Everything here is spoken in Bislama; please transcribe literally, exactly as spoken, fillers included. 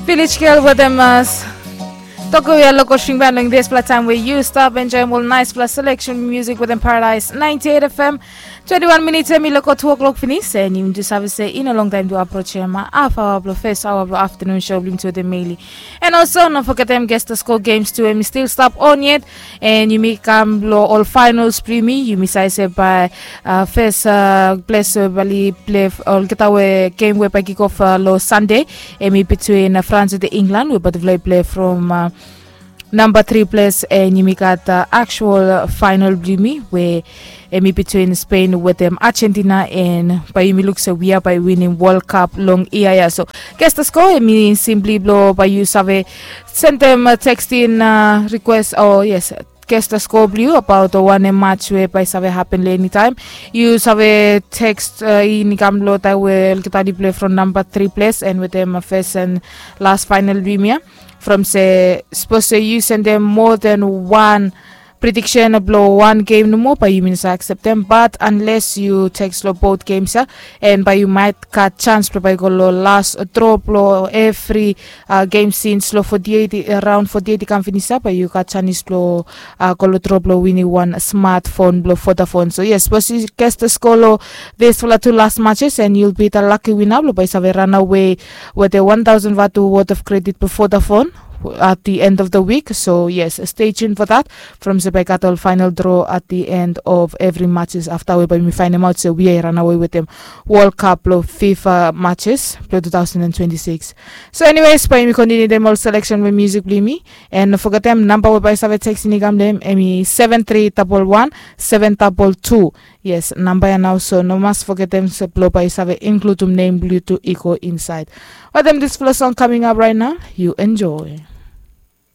Village Girl wetem uh, Tokoya Local String Band long dispela taim we yu stap enjoyim ol naispela selection music wetem Paradise ninety-eight F M. Twenty-one minutes em i loko two o'clock finis, and yumi tu save se i no long taim tu approach em half hour blo first hour blo afternoon show blo yumi tu wetem Meili. And also no forgetem Guess the Score games tu em i still stap on yet, and yumi kam lo ol finals blo yumi, yumi save se bai uh, first uh, place we bali play olgeta we game we bai kick off uh, lo Sunday, em i between uh, France and England we bai play play from uh, number three place, and yumi gat uh, actual uh, final blo yumi we em i between Spain wetem Argentina, and bai yumi luk se we are bai winning World Cup long ia ia. So guess the score em i simply blo bai yu save send them uh, text in uh, request, oh yes, guess the score blo yu about uh, wanem match we bai save happen lo anytime. Yu save text uh, in i kam lo taim we olgeta i play from number three place and wetem uh, first and last final blo yumi ia. From se sapos se yu sendem more than one prediction blo one game nomo, bai yumi no sa acceptem, but unless yu text lo both games ia, and bai yu might gat chance blo bai go lo last draw blo every uh, game since lo forty-eight, around forty-eight i kam finis ia, bai yu gat chance blo uh, go lo draw blo winning one smartphone blo Vodafone. So yes, sapos yu guess the score lo dispela two last matches, and you'll be the lucky winner blo bai save run away with a one thousand vatu worth of credit before the phone at the end of the week. So yes, stay tuned for that. From se bai gat ol final draw at the end of every matches after we bai mi findem out se we run away with them World Cup lo FIFA matches lo two thousand and twenty-six. So anyways, bai mi continue dem ol selection we music blo mi, and forgetem number we bai save text in i kam dem em i seven three double one seven double two. Yes, number ya now, so no mas forgetem se blo bai save include um name blo yu tu i go inside. Wetem this flow song coming up right now, you enjoy.